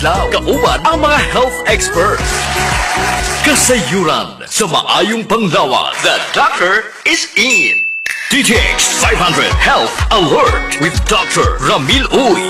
adlaw kauban ang mga health experts. Kasayuran sa maayong panglawas. The doctor is in. DTX 500 Health Alert with Dr. Ramil Uy.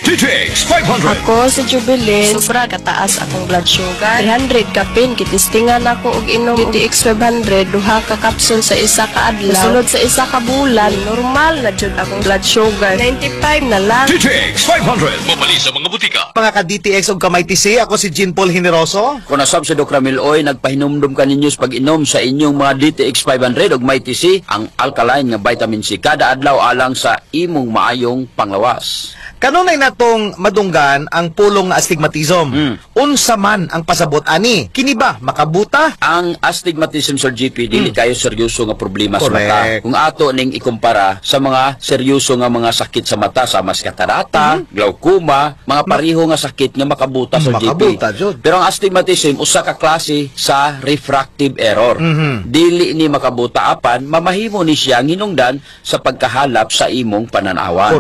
DTX 500. Ako si Jubilin, sobra kataas akong blood sugar. 300 kapin, gitistingan ako og inom DTX 500, duha ka kapsul sa isa ka adlaw. Sulod sa isa ka bulan, normal na jud akong blood sugar. 95 na lang. DTX 500. Mabali sa mga butika. Mga ka-DTX ug ka-MyTC, ako si Jean Paul Generoso. Kung nasab si Doc Ramil Oy, nagpahinumdum ka ninyo sa pag-inom sa inyong mga DTX 500 ug Mighty C, ang alkaline nga vitamin C kada adlaw alang sa imong maayong panglawas. Kanunay natong madunggan ang pulong nga astigmatism. Unsa man ang pasabot ani? Kini ba makabuta? Ang astigmatism, Sir GP, dili kayo seryoso nga problema sa mata. Kung ato ning ikumpara sa mga seryoso nga mga sakit sa mata sama sa katarata, glaucoma, mga pareho nga sakit nga makabuta, Sir GP. Makabuta, jud. Pero ang astigmatism usa ka klase sa refractive error. Dili ni makabuta apan mamahimo ni siya ang hinungdan sa pagkahalap sa imong pananawan.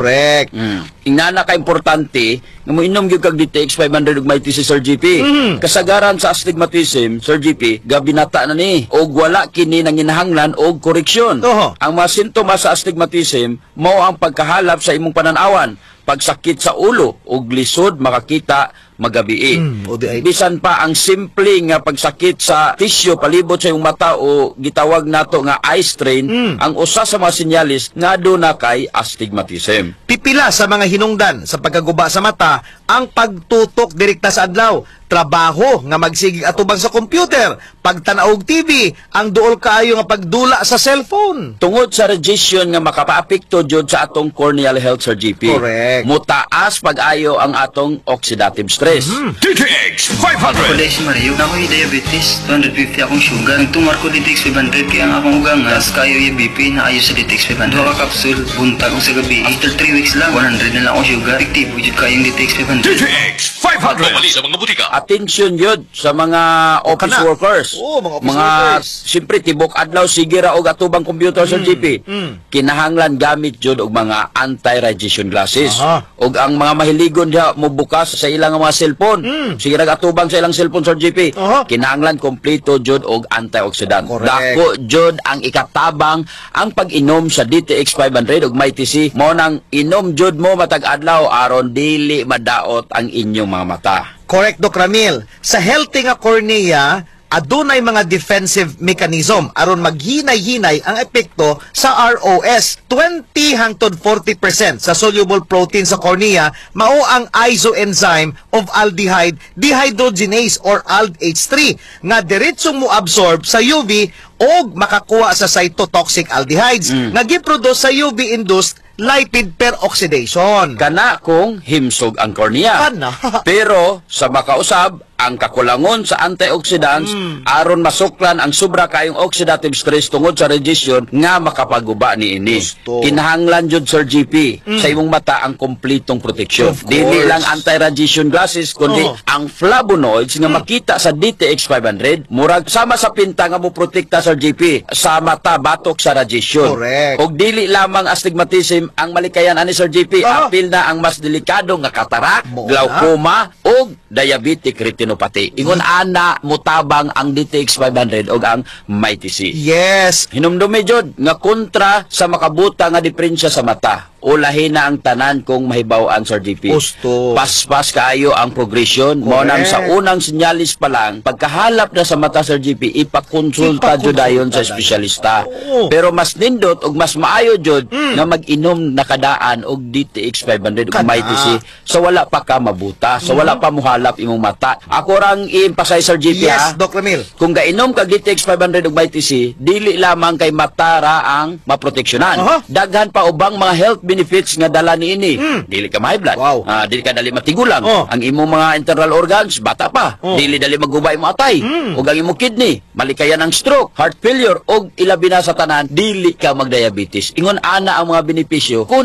Ingana ka importante nga moinom gyud kag DTX 500 ug Mighty C, Sir GP. Kasagaran sa astigmatism, Sir GP, gabinata na ni og wala kini nanginahanglan og koreksyon. Ang mga sintomas sa astigmatism mao ang pagkahalap sa imong pananawan, pagsakit sa ulo ug lisod makakita magabii. O di ay- Bisan pa ang simple nga pagsakit sa tisyo palibot sa imong mata o gitawag nato nga eye strain, ang usa sa mga sinyalis nga duna kay astigmatism. Pipila sa mga hinungdan sa pagkaguba sa mata ang pagtutok direkta sa adlaw, trabaho nga magsigig atubang sa computer, pagtanaw og TV, ang duol kaayo nga pagdula sa cellphone. Tungod sa radiation nga makapaapekto jud sa atong corneal health, Sir GP. Mutaas pag-ayo ang atong oxidative stress. DTX 500. Ako si Mario, na ako'y diabetes, 250 akong sugar. Nagtumar ko DTX 500 kaya ang akong ugangas, kayo yung BP na ayo sa DTX 500. Duha ka kapsul, buntag o sa gabi. After 3 weeks lang, 100 na lang akong sugar. Epektibo jud kayong DTX 500. DTX 500. Mabali sa mga butika. Attention yun sa mga office Kana. workers. Oo, mga office workers. Siyempre, tibok adlaw, sige ra og atubang computer sa GP. Kinahanglan gamit jud og mga anti-radiation glasses. Og ang mga mahiligon diha mo bukas sa ilang mga cellphone. Sige ra atubang sa ilang cellphone, Sir GP. Kinahanglan kompleto jud og antioxidant. Dako jud ang ikatabang ang pag-inom sa DTX 500 ug Mighty C. Mo nang inom jud mo matag adlaw aron dili madaot ang inyong mga mata. Correct, Doc Ramil. Sa healthy nga cornea, adunay mga defensive mechanism aron maghinay-hinay ang epekto sa ROS. 20 hangtod 40% sa soluble protein sa cornea mao ang isoenzyme of aldehyde dehydrogenase or ALDH3 nga diretsong mo-absorb sa UV og makakuha sa cytotoxic aldehydes nga giproduce sa UV-induced lipid peroxidation. Kana kung himsog ang cornea. Kana. Pero sa makausab, ang kakulangon sa antioxidants aron masuklan ang sobra kayong oxidative stress tungod sa radiation nga makapaguba niini. Gusto. Kinahanglan jud, Sir GP, sa imong mata ang kompletong proteksyon. Of Dili course. lang anti-radiation glasses kundi ang flavonoids nga makita sa DTX 500 murag sama sa pinta nga mo protekta, Sir GP, sa mata batok sa radiation. Og dili lamang astigmatism ang malikayan ani, Sir GP, apil na ang mas delikado nga katarak, Mo na. glaucoma ug diabetic retinopathy. Ingon ana mutabang ang DTX 500 ug ang Mighty C. Hinumdumi jud nga kontra sa makabuta nga diferensya sa mata. Ulahin na ang tanan kung mahibaw-an, Sir GP. Gusto. Paspas kaayo ang progression. Mao nang sa unang sinyalis pa lang, pagkahalap na sa mata, Sir GP, ipakonsulta jud dayon sa Ipakonsulta dayon. Espesyalista. Pero mas nindot ug mas maayo jud nga mag-inom nakadaan og DTX 500 ug Kana. Mighty C sa wala pa ka mabuta, sa wala pa muhalap imong mata. Ako rang i-emphasize, Sir GP, ha. Yes, Doc Ramil. Kung gainom kag DTX 500 ug Mighty C, dili lamang kay mata ra ang maproteksyonan. Daghan pa ubang mga health benefits nga dala niini. Dili ka ma-high blood. Dili ka dali matigulang. Ang imong mga internal organs bata pa. Dili dali maguba imong atay. Ug ang imong kidney, malikayan ang stroke, heart failure ug ilabi na sa tanan, dili ka magdiabetes. Ingon ana ang mga benepisyo kung